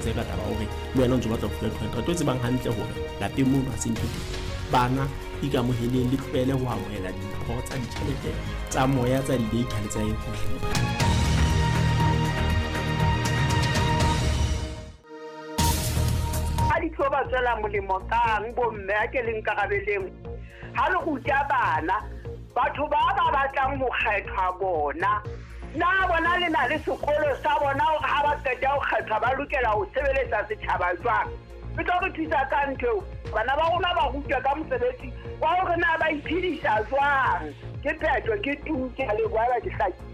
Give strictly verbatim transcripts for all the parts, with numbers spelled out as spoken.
Tse ka taba hore le wena o ntso batla ho fuwa two hundred, o tsebang hantle hore lapeng mono ha se ntho teng. Bana, ikamoheleng, le tlohele ho amohela dimpho tsa ditjhelete, tsa moya, tsa di-data le tsa eng. A di tlo ba tswela molemo kang bomme? A ke le nkarabeleng. Ha le ruta bana, batho ba ba batlang ho kgethwa bona, na bona le na le sekolo sa bona hore ha ba qeta ho kgethwa ba lokela ho sebeletsa setjhaba jwang? E tlo re thusa ka ntho eo? Bana ba rona ba rutwe ka mosebetsi wa hore na ba iphedisa jwang. Ke phetho, ke tu, ke a leboha eba ke hlakile.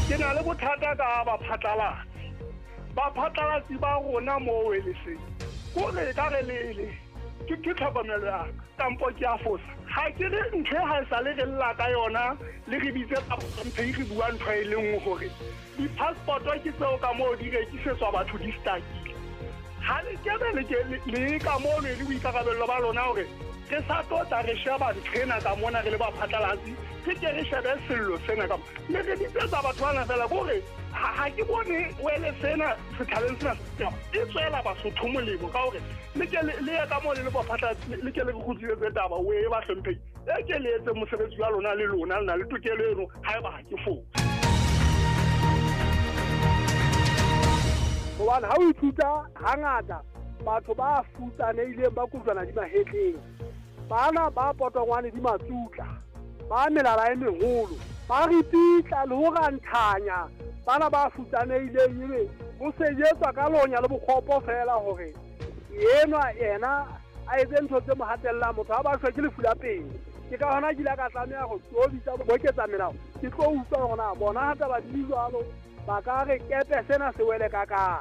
Ke na le bothata ka baphatlalatsi. Baphatlalatsi ba rona moo eleseng kore e ka re lele ke ke tlhokomelo ya ka, kampo ke a fosa? Ha ke re ntho e ha e sa le re lla ka yona, le re bitse mphe re bua ntho e le nngwe, hore di-passport ke tseo ka moo di rekisetswa batho, di stakile. Ha le kebe le ke le ka mono e le boikarabello ba lona hore re sa tlo tla re sheba ntho ena ka mona, re le baphatlalatsi re ke re shebe sello sena ka le re bitsetsa batho bana fela. Kore ha ke bone wele sena setjhabeng sena e tswela Basotho molemo ka hore le ke le ye ka moo le le baphatlalatsi, le ke le re kgutlisetse taba o e bahlomphehi, e ke le etse mosebetsi wa lona. Le lona le na le tokelo eno haeba ha ke fose. Hobane ha o ithuta, hangata batho ba futsanehileng ba kojwana di mahetleng, bana ba potongwane di matsutla, ba melala e meholo, ba ripitla le ho ranthanya bana ba futsanehileng, ebe ho sejetswa ka lonya le bokgopo feela hore enwa yena a etse ntho tse mo hatellang. Motho ha ba shwe ke lefu la pele. Ke ka hona ke ile ka tlameha ho tlo bitsa boketsa melao, ke tlo utlwa hore na bona ha taba di jwalo ba ka re kepe sena se wele ka kang.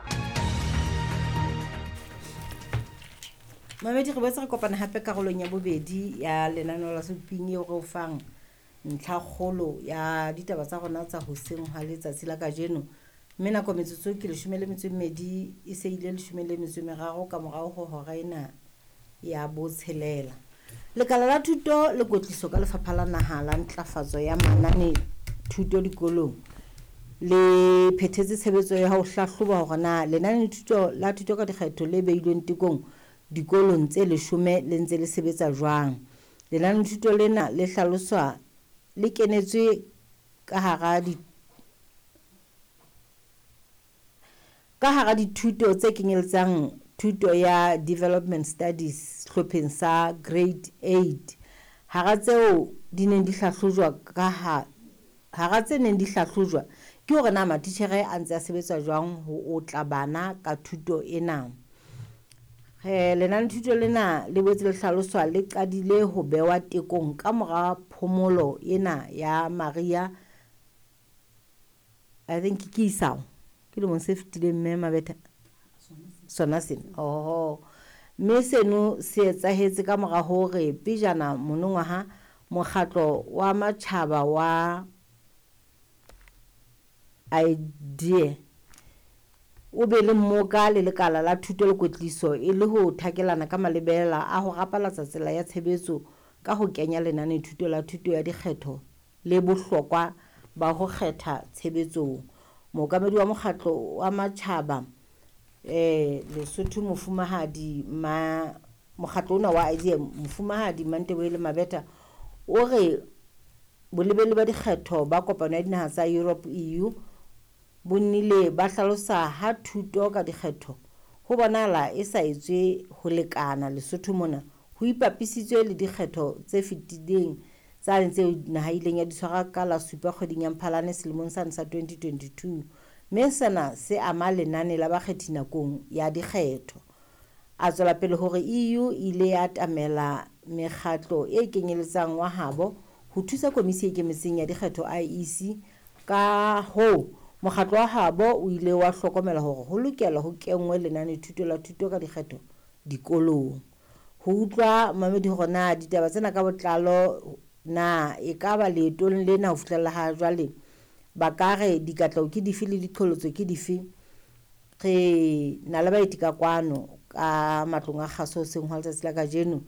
Mamedi, re boetse re kopana hape karolong ya bobedi ya lenaneo la Suping, eo re o fang ntlhakgolo ya ditaba tsa rona tsa hoseng ha letsatsi la kajeno. Mme nako metsotso ke leshome le metso e mmedi, e se ile leshome le metso e meraro ka morao ho hora ena ya botshelela. Lekala la thuto le kwetliso ka Lefapha la Naha la Ntlafatso ya Manane Thuto Dikolong le phethetse tshebetso ya ho hlahloba hore na lenane thuto la thuto ka dikgetho le beilweng tekong dikolong tse leshome le ntse le sebetsa jwang. Lenane thuto lena le hlaloswa le kenetswe ka hara di ka hara dithuto tse kenyeletsang thuto ya Development Studies sehlopheng sa Grade eight. Hara tseo di neng di hlahlojwa ka ha hara tse neng di hlahlojwa ke hore na matitjhere a ntse a sebetsa jwang ho otla bana ka thuto ena. Eh lenane thuto lena le boetse le hlaloswa le qadile ho bewa tekong ka mora phomolo ena ya Maria, I think ke isao ke lemong se fetileng, mme Mabetha sona sena. Oho, mme seno se etsahetse ka mora hore pejana monongwaha mokgatlo wa matjhaba wa IDEA o be le mmoka le lekala la thuto le kwetliso e le ho thakelana ka malebela a ho rapalatsa tsela ya tshebetso ka ho kenya lenane thuto la thuto ya dikgetho le bohlokwa ba ho kgetha tshebetsong. Mookamedi wa mokgatlo wa matjhaba eh Lesotho, mofumahadi ma mokgatlo ona wa IDEA, mofumahadi Manteboele Mabetha, o re bolebeli ba dikgetho ba kopano ya dinaha tsa Europe, E U, bo nnile ba hlalosa ha thuto ka dikgetho ho bonahala e sa etswe ho lekana Lesotho mona ho ipapisitswe le dikgetho tse fetileng tsane tseo naha e ileng ya di tshwara ka la supa kgweding ya Mphalane selemong sane sa twenty twenty-two, mme sena se ama lenane la bakgethi nakong ya dikgetho. A tswela pele hore E U e ile ya atamela mekgatlo e kenyeletsang wa habo ho thusa Komisi e Ikemetseng ya Dikgetho, I E C. Ka hoo mokgatlo wa habo o ile wa hlokomela hore ho lokela ho kenngwe lenane thuto la thuto ka dikgetho dikolong. Ho utlwa mamedi hore na ditaba tsena ka botlalo na ekaba leetong lena ho fihlela ha jwale ba ka re dikatleho ke dife le diqholotso ke dife, re na le baeti ka kwano ka matlong a kgaso hoseng hwa letsatsi la kajeno.